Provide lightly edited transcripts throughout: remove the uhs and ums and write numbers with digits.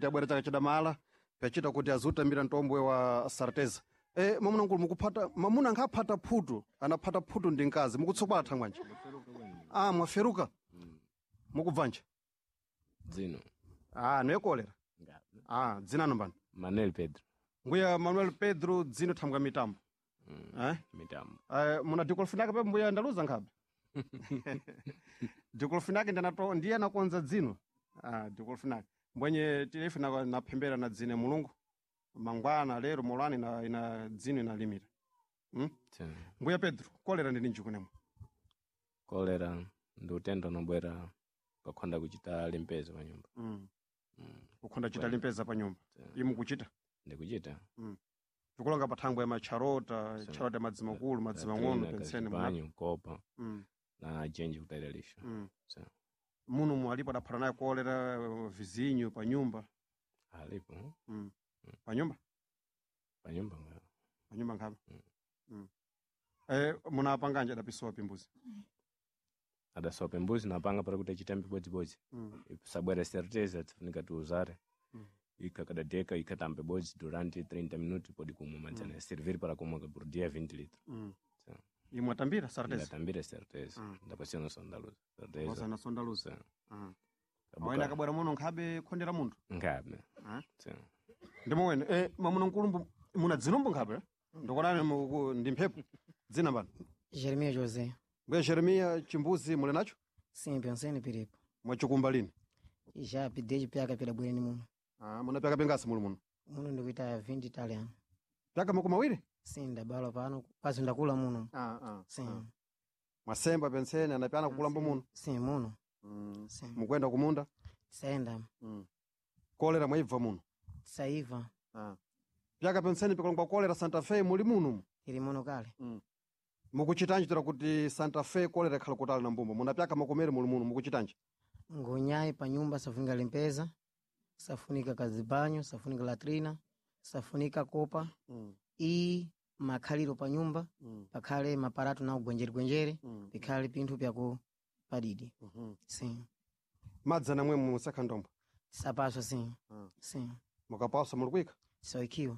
Abwera chaka chidamala pachita kuti azutambira mtombwe wa sarteza. Mwamuna nkulu mukuphata mwamuna ankaphata phutu, anaphata phutu ndi mkazi mukutsokwala thangwanje. Ah, mwaferuka. Mukubvanja. Dzino. Ah, noye kolera. Ah, dzinano mbani? Manuel Pedro. Mbuya Manuel Pedro dzino thambwa mitambo. Eh? Mitambo. Muna dikolofinake pepo mbuya ndaluza nkhabe. Dikolofinake ndanato ndiye anakonza dzino. Ah, dikolofinake. Mbwenye tilefe na naphembera na dzine Mulungu. Mangwana lero molani na ina dzino inalimira. Tena. Mbuya Pedro, kolera ndi ninji kunemwe. Kolera ndi utenda unobwera pakhonda kuchita limpeza pa nyumba. Ukhonda chita limpeza pa nyumba. Imu kuchita. Ndikuchita. Tikulonga pa thangwe ya macharota, charota ya madzi makulu, madzi mang'ono pensene muna. Banyo, kopa na jenji kutayiralisha. So, Muno mu alipo adaphata naye kolera vizinyo pa nyumba. alipo Pa nyumba? pa nyumba nga. Pa nyumba nkhabe. Munapanganje adapisowa pimbuzi. Adasopa mbuzi napanga para kuti achitambe bodzibodzi. Sabwera certeza tifunika tiuzare. Ikakadadeka ikatambe bodzi durante 30 minutos pode kumwa madzana. Servir para kumwa por dia 20 litros. So, Imwe atambira sarteza. ndatambira certeza. Ndapasiyana sondaluza. Certeza. Osana sondaluza. So, Awena akabwera muno nkhabe khondera munthu. Ngabe. Ah. So, Ndimowene mwamuna nkulumbu muna dzinumbu nkhabe? Ndikonani ndi mphepo. Dzina mbani? Jeremias José. Mbuya Jeremiya chimbuzi muli nacho? Sim, pensei no piripo. Mwachikumba lini? Já desde piaka pela bwene muno. Ah, munapyaka pengasi muli muno. Muno ndikuita 20 italiano. Pyaka makumi awiri? Sim, ndabala pano, quase ndakula muno. Sim. Mwasemba pensene anapyana kukulamba muno. Sim, muno. Sim. Mukwenda kumunda. Saenda, Kolera mwaibva muno. saiva, Pyaka pensene pikalongwa kolera Santa Fe muli muno. iri muno kale. Mukuchitanji tira kuti Santa Fe kolera ikhala kutali na mbumba. Munapyaka makomere muli muno mukuchitanji. Ngonyai pa nyumba safunika limpeza, safunika kazibanyo, safunika latrina, safunika kopa. I makhaliro pa nyumba, pakhale maparato na ugwenjere-gwenjere, pikhale pinthu pyaku padidi. Sim. Madzi namwe musakha ndombo. Sapaswa sim. Sim. Mukapaswa muli kuyika. Saikiwa.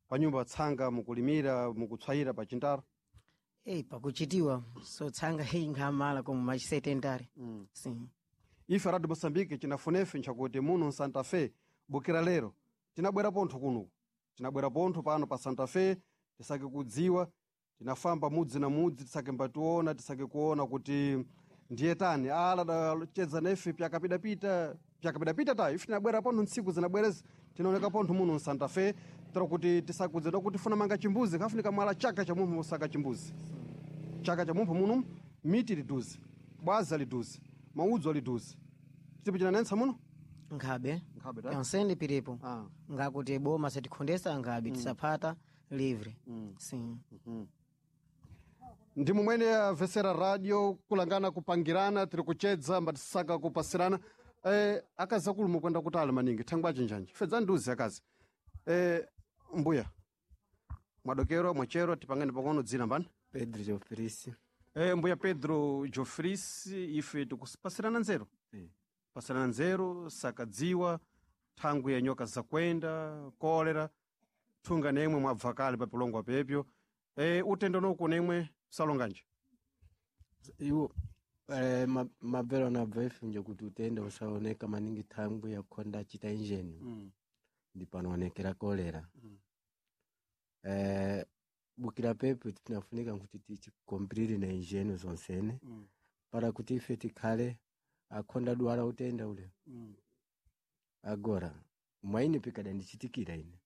Pa nyumba tsanga mukulimira mukutswayira pa chintaro. Ei, pakuchitiwa sotsanga hei nkhamala como machisetentare. Sim. Ife Radio Moçambique chinafunefe nchakuti muno Santa Fe bukira lero tinabwera pontho kuno tinabwera pontho pano pa Santa Fe tisake kudziwa tinafamba mudzi na mudzi tisake mbationa tisake kuona kuti ndiye tani ala dacheza nefe pyakapidapita pyakapidapita ta ife tinabwera pontho ntsiku zinabwerezi tinaoneka pontho muno Santa Fe tira kuti tisakudzedwa kuti funa manga chimbuzi kafunika mwala chaka cha munthu musaka chimbuzi chaka cha mumpho muno miti liduze bwaza liduze maudzo liduze chitipo chinanensa muno Nkhabe. Nkhabe, ta? Pensende piripo. Ah. Ngakuti boma satikhondesa nkhabe tisaphata livre. Sim. ndi mumwene avesera radio kulangana kupangirana tiri kuchedza mbatisaka kupasirana akazi akulu mukwenda kutali maningi thangwa chinjanji fedza nduzi akazi mbuya mwadokero mwachero tipangani pang'ono dzina mbani Pedro Jofrisi. Mbuya Pedro Jofris ife tikusipasirana nzeru pasirana nzeru sakadziwa thangwi ya nyoka zakwenda kolera thunga nemwe mwabva kale papilongwa pepyo utendo noku nemwe salonganje Iwo mabvero anabva ifunje kuti utenda usaoneka maningi thangwi yakhonda achita injeni ndi panoonekera kolera. Bukira pepo tinafunika kuti tichikomplire na injeni zonsene para kuti ife tikhale akhonda dwala utenda ule. Agora mwaine pikada ndichitikira ine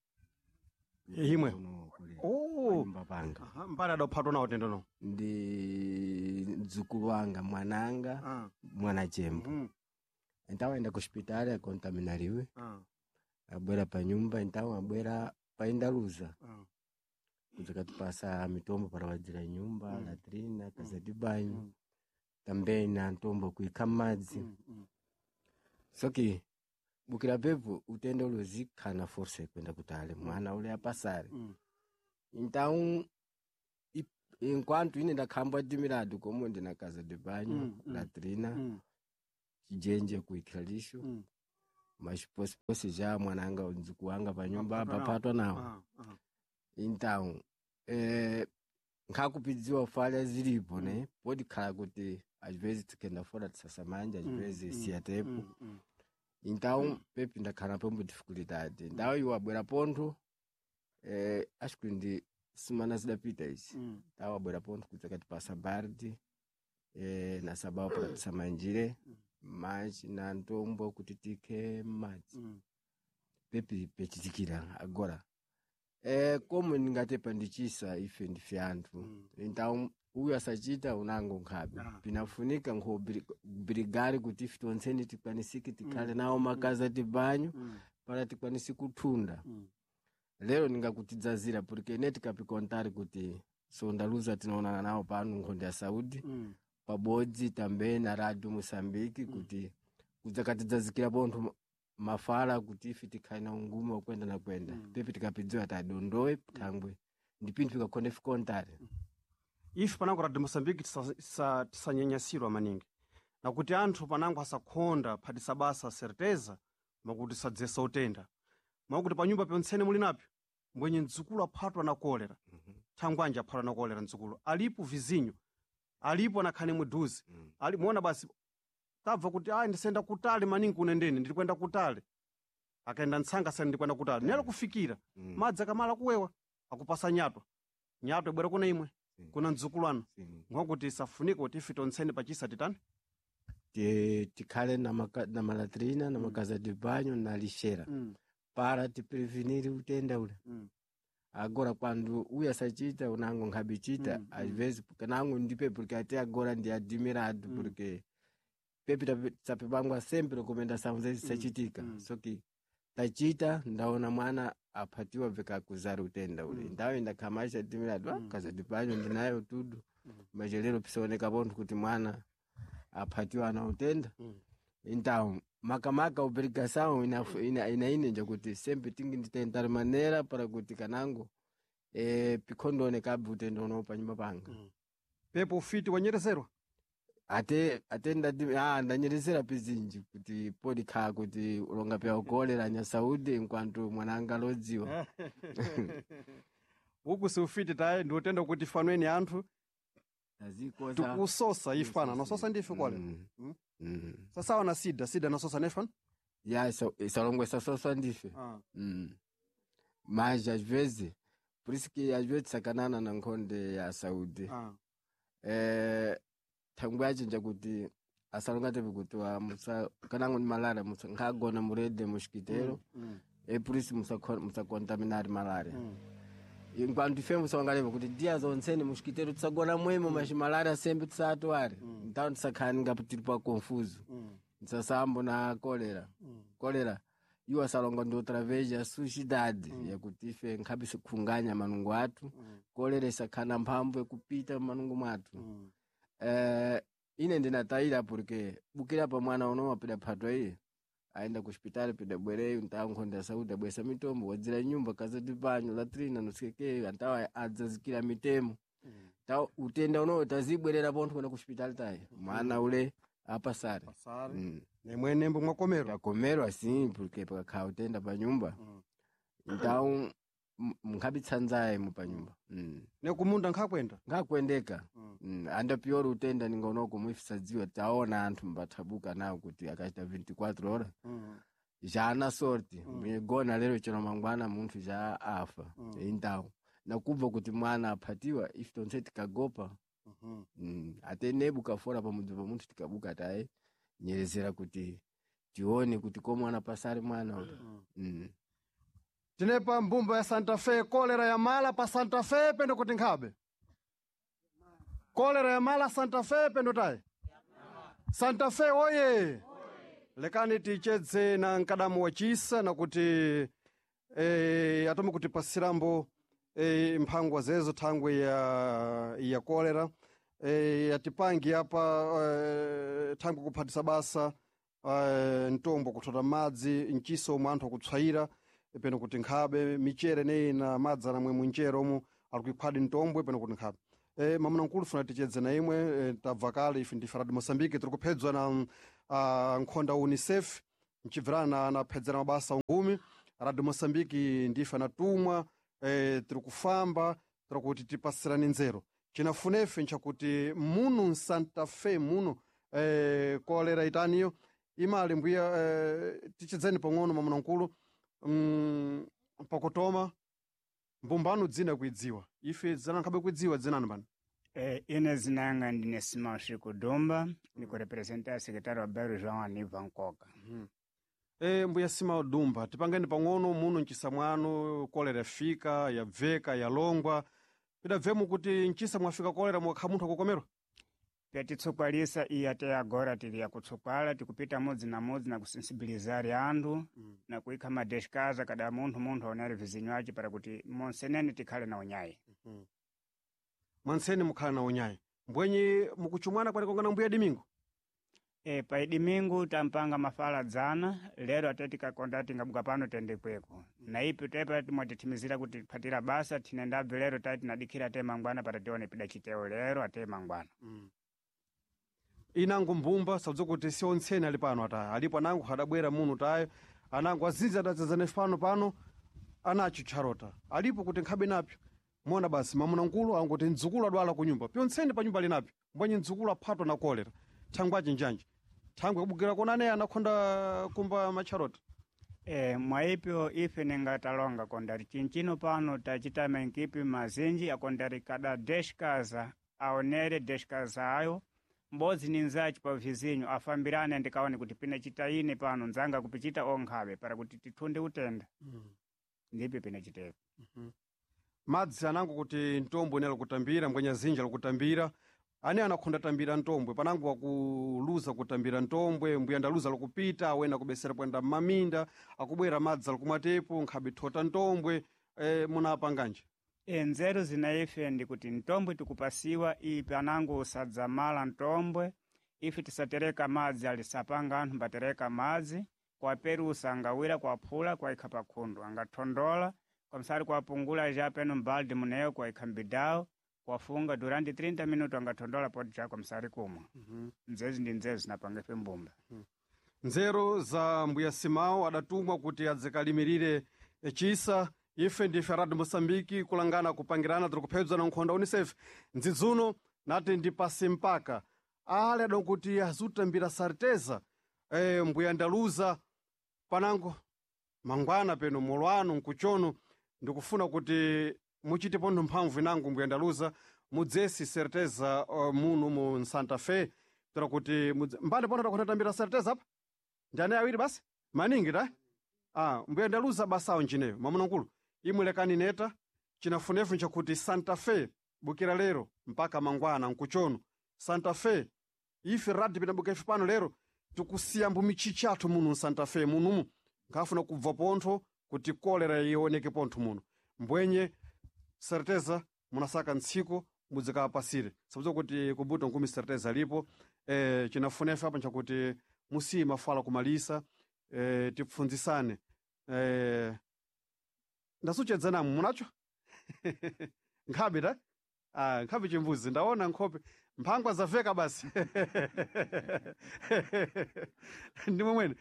Imwe? Kuno kule Oh. panyumba panga Aha, mbali adaphatwa nawo utendo no ndi mdzukulu wanga mwananga mwana chembo então aenda ku hospitali akontaminaliwe abwera pa nyumba então abwera paindaluza kuzakatipasa mitombo para wadzira nyumba latrina kaza de banho também na ntombo kuikha madzi soki bukira pepo utenda ule uzikhana força kwenda kutale mwana ule apasare então enquanto ine ndakhamba dimirado como ndina casa de banho latrina chijenje kuikha lixo. Maxiposiposi já mwananga nzuku wanga panyumba Apatwa nawo. apapatwa nawo. Então nkhakupidziwa falha zilipo ne podikhala kuti às vezes tikenda fora tisasamanja, às vezes siyatepo. Então pepi ndakhala pombo dificuldade, então iwo abwera pontho, acho que ndi semana zidapita izi. Então abwera pontho kuti akatipasa bardi, na sabao para tisamanjire manji na ntombo kuti tikhe madzi. Pepi pechitikira agora, como ndingatepa ndichisa ife ndife anthu. Então uyu asachita unango nkhabe. Pinafunika nkhubrigari kuti ife tonseni tikwanisike tikhale nawo makazi atibanyo para tikwanise kuthunda. Lero ndingakutidzazira porque ine tikapikontari kuti sondaluza tinaonana nawo pano nkhonde ya saúde pabodzi tambe na radio Moçambique kuti kudzakatidzazikira pontho mafala kuti ife tikhale na unguma wakwenda na kwenda. Pepi tikapidziwa tadondowe thangwe ndi pinthu pikakhonde fikontari. Ife panango radio Moçambique tisanyanyasidwa maningi nakuti anthu panango asakhonda phatisa basa certeza makuti sadzesa utenda, mwakuti panyumba ponsene muli napyo mbwenye mdzukulu aphatwa na kolera. Thangwanji aphatwa na kolera mdzukulu alipo vizinyo alipo anakhane mudhuze. Ali muona basi tabva kuti ayi ndisenda kutali maningi kunendeni ndiri kwenda kutali, akaenda ntsanga sani ndikwenda kutali nelo kufikira madzi akamala kuwewa akupasa nyatwa, nyatwa ibwera kuna imwe kuna mdzukulu anu. Mwakuti isafunike kuti ife tonsene pachisa titani. Tikhale na malatrina na makaza de banho na lixera para tiprevenir utenda ule. Agora quando uyu asachita unango nkhabichita. Às vezes kanango ndipe porque até agora ndi admirado porque pepi tapepangwa sempre recomendação zezi sachitika. So que tachita ndaona mwana aphatiwa vikakuzara utenda ule. Ndawo ndakhamasha admirado, kaza de banho ndinayo tudo, mas lero pisaoneka pontho kuti mwana aphatiwa ana utenda. Então makamaka obrigação ina inenja kuti sempre tingi nditentar maneira para kuti kanango pikhondoonekabe utenda uno panyumba panga. Pepo ufiti wanyerezerwa. Ate ndati ndanyerezera pizinji kuti podikhala kuti ulonga pya ukolera nyasaudi enquanto mwana alodziwa. Uku si ufiti tayi ndi utenda kuti fanweni anthu Tazikoza tikusosa ife pana nasosa ndife kolera. Sasawa na sida, sida nasosa nefana. Ya isalongo isasoswa ndife. Mas às vezes por isso que às vezes sakanana na nkhonde ya saúde. Thangwe achinja kuti asalonga tepe kuti wa musa kanango ni malaria musa nkhagona murede mosquiteiro. E por isso musacontaminare malaria enquanto ife musawangaleva kuti dia zonsene mosquiteiro tisagona mwemo, mas malaria sempre tisatware. Então tisakhala ningapo tiri pa confuso tisasambo na kolera. Kolera iwo asalonga ndi outra vez a sujidade yakuti ife nkhabe sikhunganya manungo athu. Kolera isakhala na mphamvu yakupita mmanungo mwathu. Ine ndinatayira porque bukira pa mwana uno wapida phatwa iye aenda ku hospitali pida bwereyo ntawo nkhonde ya saúde abwesa mitombo wadzira nyumba kaza de banho latrina nosekeke antawo adzazikira mitemo tawo utenda unowo tazibwerera pontho kwenda ku hospitali tayi mwana ule apasare. Nemwenembo mwakomero. Takomerwa sim porque pakakhala utenda pa nyumba então mnkhabitsanzaye mu pa nyumba. Nekumunda nkhakwenda. Ngakwendeka. Anda pior utenda ningonoko muifisadziwa taona anthu mbathabuka nawo kuti akachita 24 horas já ana sorte migona lero chero mangwana munthu já afa. Então nakubva kuti mwana aphatiwa ife tonse tikagopa. Ate nebuka fora pamudzi pa munthu tikabuka taye nyerezera kuti tione kuti ko mwana pasari mwana ule. Tinepa mbumba ya Santa Fe kolera ya mala pa Santa Fe pendo kuti nkhabe kolera ya mala Santa Fe pendo tayi Santa Fe oye. Lekani tichedze na mkadamu wa chisa nakuti atome kutipasirambo mphangwa zezo thangwe ya kolera atipangi apa thangwe kuphatisa basa mtombo kuthota madzi mchiso omwe anthu akutswayira peno kuti nkhabe michere neyi na madzi anamwe munchere omwe ali kuiphwadi mtombwe peno kuti nkhabe. Mamuna nkulu funa tichedze na imwe, tabva kale ife ndife Radio Moçambique tiri kuphedzwa na nkhonda UNICEF. Mchibvirana naphedzera mabasa ungumi Radio Mosambiki ndife anatumwa tiri kufamba tiri kuti tipasirane nzeru. Chinafunefe nchakuti muno Nsanta Fe muno kolera itaniyo imali mbuya tichidzeni pang'ono mwamuna-mkulu pakutoma mbumbano dzina kuidziwa ife dzina nkhabe kuidziwa dzinani bana. Ine zinanga ndine Simão Chico Dumba, ndikurepresenta secretário wa bairro João Aniva Nkoka. Mbuya Simão Dumba, tipangeni pang'ono muno mchisa mwanu kolera yafika yabveka yalongwa pidabvemo kuti mchisa mwafika kolera mwakha munthu akukomerwa. Pyatitsukwalisa iyi ate agora tili yakutsukwala tikupita mudzi na mudzi na kusensibilizari anthu na kuikha madeshikaza kada munthu aonere vizinyo ace para kuti monsenene tikhale na unyayi. Mwanseni mukhala na unyayi mbwenye mukuchumwana kwanikongana mbuya Dimingo. Pa Dimingo tampanga mafala dzana lero ate tikakonda tingabuka pano tende kweko na ipi tepa timwatithimizira kuti tiphatira basa tinendabve lero tati tinadikhira ate mangwana para tione pida chiteo lero ate mangwana. Inango mbumba sabza kuti si ontseni ali pano ataya alipo anango adabwera muno tayo anango azinji adadzazana pano pano anacho tcharota alipo kuti nkhabe napyo mona basi mwamuna-mkulu angoti mdzukulu adwala ku nyumba pyontseni pa nyumba ali napyo mbwenye mdzukulu aphatwa na kolera thangwe achinjanji thangwe kubukira kona anaye anakhonda kumba matcharota. Mwaipyo ife ningatalonga kondari chinchino pano tachita menkipi mazinji akondari kada deshkaza aonere deshkaza ayo mbodzi ni nzachi pa vizinyo afambirane ndikaone kuti pina chitaine pano nzanga kupichita onkhabe para kuti tithunde utenda. Ndipyo pina chitepo. Madzi anango kuti ntombwe ne alikutambira mbwenya zinji alikutambira ane anakhonda tambira ntombwe panango akuluza kutambira ntombwe mbuya ndaluza alikupita awena kubesera kuyenda mmaminda akubwera madzi alikumwatepo nkhabe thota ntombwe munapanganje. Nzeru zina ife ndikuti ntombwe tikupasiwa ipi anango usadzamala ntombwe ife tisatereka madzi alisapanga anthu mbatereka madzi kwaperusa angawira kwaphula kwaikha pakhundu angathondola kwamsari kwapungula ja peno mbaldi muneyo kwaikha mbidawo kwafunga durante 30 minuto angathondola poti ja kwamsari kumwa. Nzezi ndi nzeru zinapanga ife mbumba. Nzeru za mbuya Simao adatumwa kuti adzikalimirire chisa ife ndife Radio Mosambiki kulangana kupangirana tiri kuphedzwa na nkhonda UNICEF ndzidzuno nati ndi pasi mpaka ale adankuti azutambira sarteza mbuya ndaluza panango mangwana peno molwano nkuchono ndikufuna kuti muchite pontho mphamvu inango mbuya ndaluza mudzesi certeza muno mu Santa Fe tera kuti mbali pontho takhona tambira certeza apa ndi anayi awiri basi maningi ta mbuya ndaluza basawo njineyo mwamuna-mkulu imwe lekani neta chinafunefu nchakuti Santa Fe bukira lero mpaka mangwana nkuchono Santa Fe ife radi pinabuka ife pano lero tikusiya mbumichichi athu muno Santa Fe munumu nkhafuna kubva pontho kuti kolera ioneke pontho muno mbwenye certeza munasaka ntsiko mudzikapasire sabza kuti kubuta nkumi certeza alipo chinafunefu apa nchakuti musiye mafala kumalisa tipfunzisane ndasuchedzanamu munacho nkhabe ta nkhabe chimbuzi ndaona nkhope mphangwa zaveka basi ndi momwene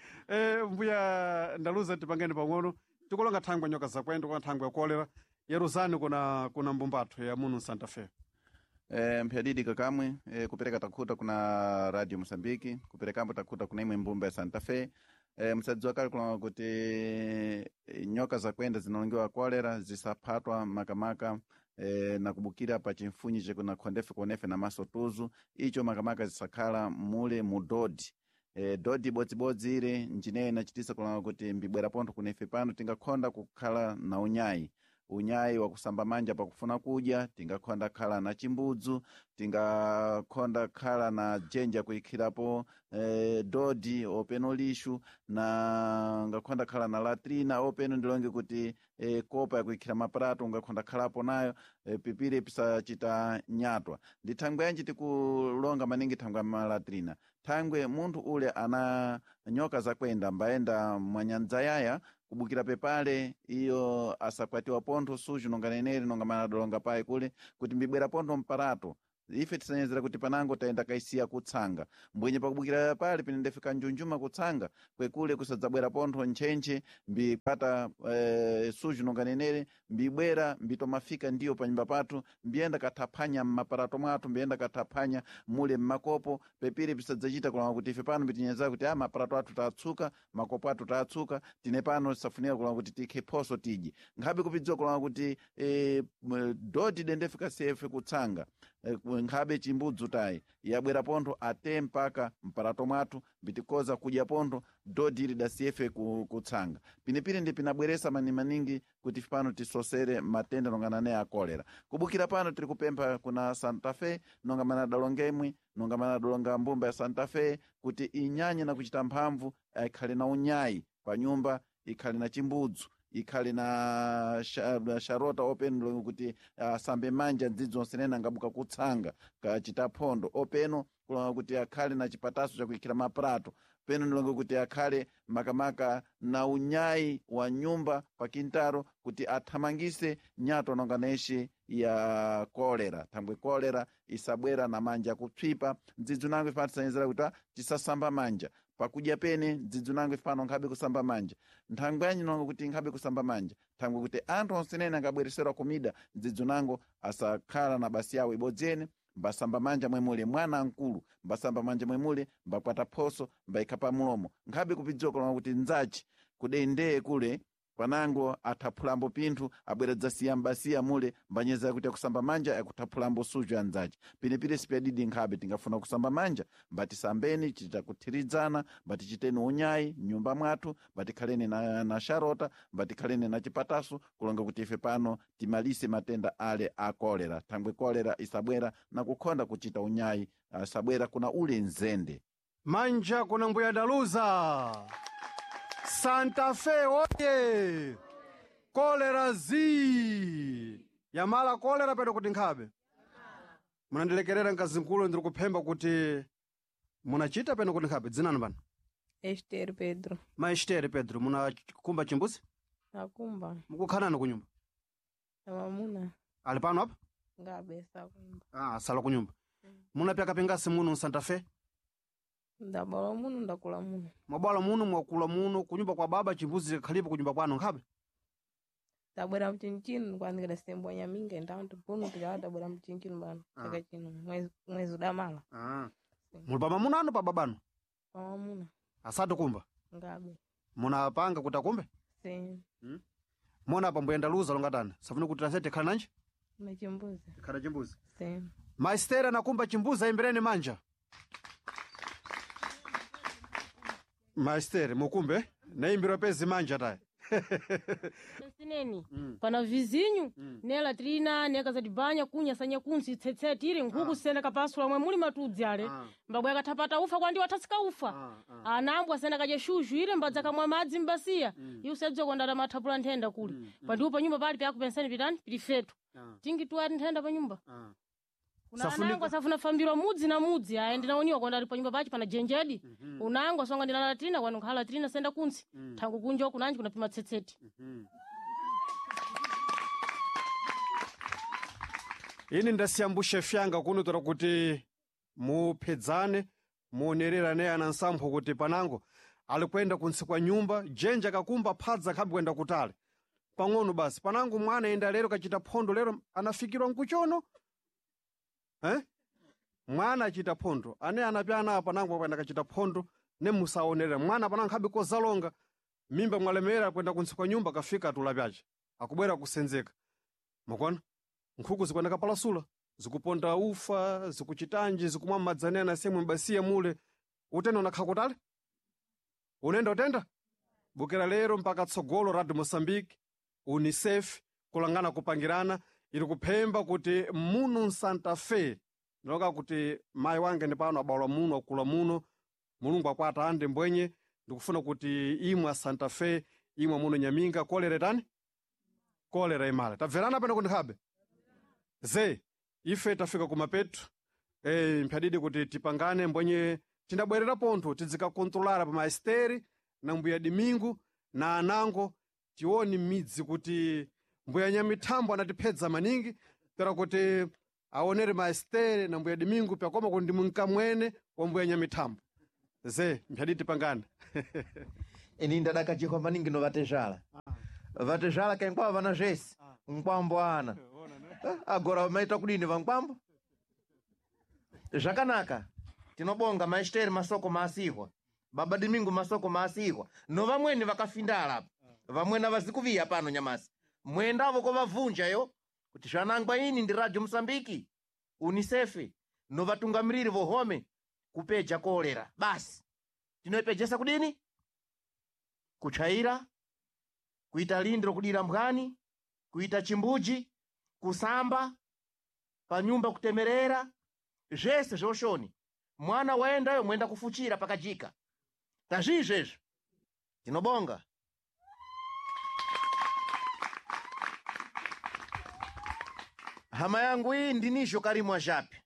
mbuya ndaluza tipangeni pang'ono tikulonga thangwe nyoka zakwendo kuna thangwe ya kolera yeruzani kuna mbumbatho ya muno Santa Fe. Mphyadidi kakamwe kupereka takhuta kuna Radio Mosambiki kuperekambo takhuta kuna imwe mbumba ya Santa Fe. Msadziwa kale kulonga kuti nyoka zakwenda zinalongiwa kolera zisaphatwa makamaka na kubukira pa chimfunyi chekuna khondefe kuonefe na maso tuzu icho makamaka zisakhala mule mu dodi. Dodi ibodzibodzi ile njineyo inachitisa kulonga kuti mbibwera pontho kunefe pano tingakhonda kukhala na unyayi unyayi wakusamba manja pakufuna kudya tingakhonda khala na chimbudzu tingakhonda khala na djenja kuikhirapo dodi openo lixu na ngakhonda khala na latrina openo ndilonge kuti kopa yakuikhira maprato ungakhonda khalapo nayo pipire pisachita nyatwa. Ndi thangwe yanji tikulonga maningi thangwe ya malatrina thangwe munthu ule ana nyoka zakwenda mbayenda mwanyandza yaya kubukira pepale iyo asakwatiwa pontho suju nonga neneri nonga manadolonga payi kule kuti mbibwera pontho mparato Ife tisanyezera kuti panango tayenda kaisiya kutsanga mbwenye pakubukira pale pinendefika njunjuma kutsanga kwekule kusadzabwera pontho ntchentche mbipata suju nonganenere mbibwera mbitomafika ndiyo panyumba pathu mbiyenda kathaphanya mmaparato mwathu mbiyenda kathaphanya mule mmakopo pepiri pisadzachita kulanga kuti ife pano mbitinyezera kuti a maparato athu tatsuka makopo athu tatsuka tine pano tisafunika kulanga kuti tikhe phoso tidye nkhabe kupidziwa kulanga kuti doti dendefika sefe kutsanga nkhabe chimbudzu tayi yabwera pontho ate mpaka mparato mwathu mbitikoza kudya pontho dodi ili dasiyefe kutsanga pinepine ndi pinabweresa manimaningi kuti pano tisosere matenda nongana ne a kolera. Kubukira pano tiri kupempha kuna Santa Fe nonga mana adalonga imwe nonga mana adalonga mbumba ya Santa Fe kuti inyanye na kuchita mphamvu ikhale na unyayi pa nyumba ikhale na chimbudzu ikhale na sharota openo kuti asambe manja ndzidzo onsenene angabuka kutsanga kachita phondo openo kulonga kuti akhale na chipataso chakuikhira maprato peno ndilonga kuti akhale makamaka na unyayi wa nyumba pa kintaro kuti athamangise nyato nonga neshe ya kolera thangwe kolera isabwera na manja kupsipa ndzidzi nango ife tisanyezera kuti tisasamba manja pakudya pene ndzidzi nango ife pano nkhabe kusamba manja nthangwe yanyi nonga kuti nkhabe kusamba manja thangwe kuti anthu onsenene angabwereserwa kumida ndzidzi nango asakhala na basi yawo ibodzi ene mbasamba manja mwemule mwana mkulu mbasamba manja mwemule mbakwata phoso mbayikha pa mulomo nkhabe kupidziwa kulonga kuti nzachi kudendeye kule panango athaphulambo pinthu abwera dzasiya mbasiya mule mbanyezera kuti akusamba manja akutaphulambo suju anzace pinepire sipyadidi nkhabe tingafuna kusamba manja mbatisambeni titakuthirizana mbatichiteni unyayi mnyumba mwathu mbatikhaleni na sharota mbatikhaleni na chipataso kulonga kuti ife pano timalise matenda ale a kolera thangwe kolera isabwera na kukhonda kuchita unyayi asabwera kuna ule nzende. Manja kuna mbuya Daluza. Santa Fe oye! Kolera zi! Yamala kolera pedo kuti nkhabe. Munandilekerera mkazinkulu ndiri kuphemba kuti munachita peno kuti nkhabe dzinani pano? Esther Pedro. Ma Esther Pedro munakumba chimbuzi? Nakumba. Mukukhanani kunyumba? Na mamuna. Ali pano apa? Ngabe sakumba. Ah, sala kunyumba. Munapyaka pingasi muno Santa Fe? Ndabala muno ndakula muno. Mwabwala muno mwakula muno kunyumba kwa baba chimbuzi khalipo kunyumba kwanu nkhabe? Tabwera mchinchino kwandikira sembo nyaminga ndantu puno tikala tabwera mchinchino bano. Chaka chino mwezi udamala. Muli pa mamuna anu pa babanu? Pa mamuna. Asati kumba? Ngabe. Munapanga kuti akumbe? Sim. Mona apa mbuyenda luza longatani. Safuna kuti tasete khala nanji? Na chimbuzi. Khala chimbuzi. Sim. Maistera anakumba chimbuzi ayimbireni manja. Maisteri mukumbe naimbirwa pezi manja tayi. Sineni pana vizinyu ne latrina ne kazadibanya kunya sanya kunsi tsetsetire nkhuku sena kapasula mwe muli matudzi ale mbabwe akathapata ufa kwandi wathasika ufa anambwa sena kadya shushu ile mbadza kamwa madzi mbasiya iwo sebza kondata mathapula nthenda kuli pandiwo panyumba pali pyakupensani pitani pili fetu tingi tuwati nthenda panyumba kuna anango asafuna fambirwa mudzi na mudzi aye ndinaoniwa konda ali panyumba pachi pana jenjedi unango asonga ndina latrina kwanu nkhala latrina senda kunsi thangu kunja kunanji kunapima tsetseti. Ini ndasiyambushe fyanga kuno tora kuti muphedzane muonererane ana nsampho kuti panango ali kuyenda kuntsi kwa nyumba jenja kakumba phadza khabe kuyenda kutali pang'ono basi panango mwana enda lero kachita phondo lero anafikirwa nkuchono. Mwana achita phondo ane anapyana apa nango kwenda kachita phondo ne musaonerera mwana panango khabe kozalonga mimba mwalemera kwenda kuntsi kwa nyumba kafika atula pyace akubwera kusenzeka makona nkhuku zikwenda kapalasula zikuponda ufa zikuchitanji zikumwa madzane anasemwe mbasiya mule utenda unakha kutali unenda utenda bukira lero mpaka tsogolo Radio Mozambique UNICEF kulangana kupangirana ili kuphemba kuti muno Santa Fe ndiloka kuti mayi wange ndi pano abalwa muno akula muno mulungu akwata ande mbwenye ndikufuna kuti imwe a Santa Fe imwe muno Nyaminga kolera tani kolera imala tabverana pano kuti nkhabe ze ife tafika kumapetu mphyadidi kuti tipangane mbwenye tindabwerera pontho tidzikakontrolara pa maesteri na mbuya Dimingu na anango tione midzi kuti mbuya Nyamithambo anatiphedza maningi pera kuti Aonere maestere na mbuya Domingo pyakoma kuti ndi mnkamwene wa mbuya Nyamithambo. Ze mphaditi pangana. Ini ndadakachikwa maningi no vatezvala. Vatezvala kenkwava vana zvese. Mkwambo ana. Agora maita kudini vankwambo? Zvakanaka. Tinobonga maesteri masoko maasihwa. Baba Domingo masoko maasihwa. No vamweni vakafindala apa. Vamweni avazikuviya pano nyamasi. Mwendavo kovavhunja yo kuti zvanangwa ini ndi Radio Mosambiki, UNICEF no vatungamiriri vohome kupeja kolera. Basi. Tinoipejesa kudini? Kutsvaira, kuita lindiro kudira mbwani, kuita chimbuji, kusamba, panyumba kutemerera, zvese zvoshoni. Mwana waendayo mwenda kufuchira pakajika. Tazvizvezvo. Tinobonga. Hama yangu iyi ndinizvo Karimu Ajapi.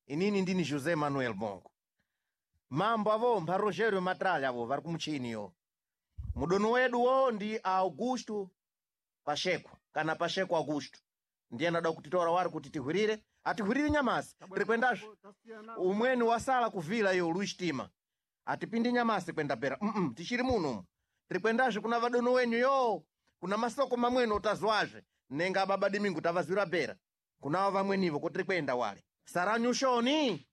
Inini ndini José Manuel Bongo. Mambo avo mba Rogério Matralha avo vari kumuchini yo. Mudono wedu wo ndi Augusto Pacheco kana Pacheco Augusto. Ndiye anada kutitora wari kuti tihwirire. Atihwirire nyamasi. Tiri kwendazvo. Umweni wasala kuvila iyo Luis Tima. Atipindi nyamasi kwenda pera. Tichiri muno. Tiri kwendazvo kuna vadono wenyu yo. Kuna masoko mamweni utazwazve. Nenga baba Domingo tavazwira pera. Kunavo vamwenivo kuti tiri kwenda wale. Saranyushoni.